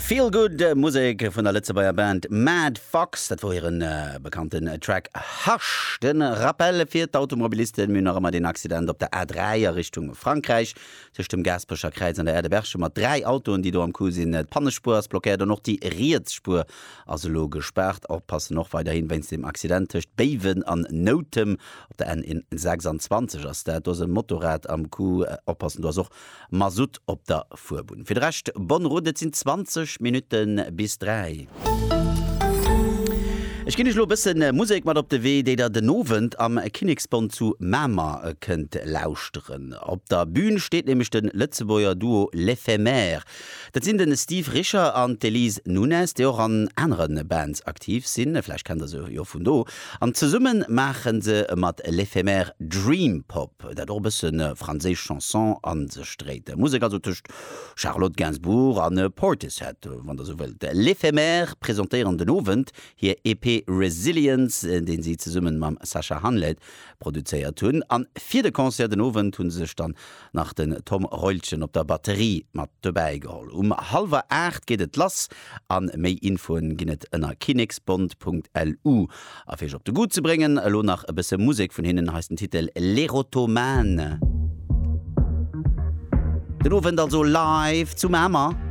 Feel Good Musek vun der Lëtzebuerger Band Mad Fox. Dat wor hiren bekannten Track Hush. De Rappel fir d'Automobilisten, Mir hunn nach ëmmer deen Accident op der A3 a Richtung Frankräich tëscht dem Gaasperecher Kräiz an der Aire de Berchem mat 3 Autoen, déi do am Coup sinn. D'Pannespuer ass blockéiert an och déi riets Spuer ass elo gespaart. Oppassen och weiderhin wéinst dem Accident tëscht Béiwen an Noutem op der N26 ass dat. Do ass e Motorrad am Coup. Oppassen, do ass och Masutt op der Fuerbunn. Fir de Rescht bonne route, et sinn 20 Minutte bis 3. Ech ginn iech elo e bësse Musek mat op de Wee, déi der den Owend am Kinneksbond zu Mamer kënnt lauschteren. Op der Bün steet nämlech de Lëtzebuerger Duo L'Ephemère. Dat sinn de Steve Richer an d'Elise Nunes, déi och an anere Bands aktiv sinn. Vläicht kennt der se jo vun do. An zesumme maache se mat L'Ephemère Dream Pop, dat och e bësse franséisch Chanson a sech dréit. Musek also tëscht Charlotte Gainsbourg a Portishead, wann der sou wëllt. L'Ephemère presentéieren den Owend hir EP Resilience, deen si zesumme mam Sacha Hanlet produzéiert hunn. An fir de Concert den Owend hu se sech dann nach den Tom Reulchen op der Batterie mat dobäi geholl. Um hallwer 8 geet et lass an méi Infoen ginn et ënner kinneksbond.lu. A fir iech op de Goût ze bréngen, elo nach e bësse Musek vun hinnen, hei ass den Titel L'Erotomane. Den Owend also live zu Mamer.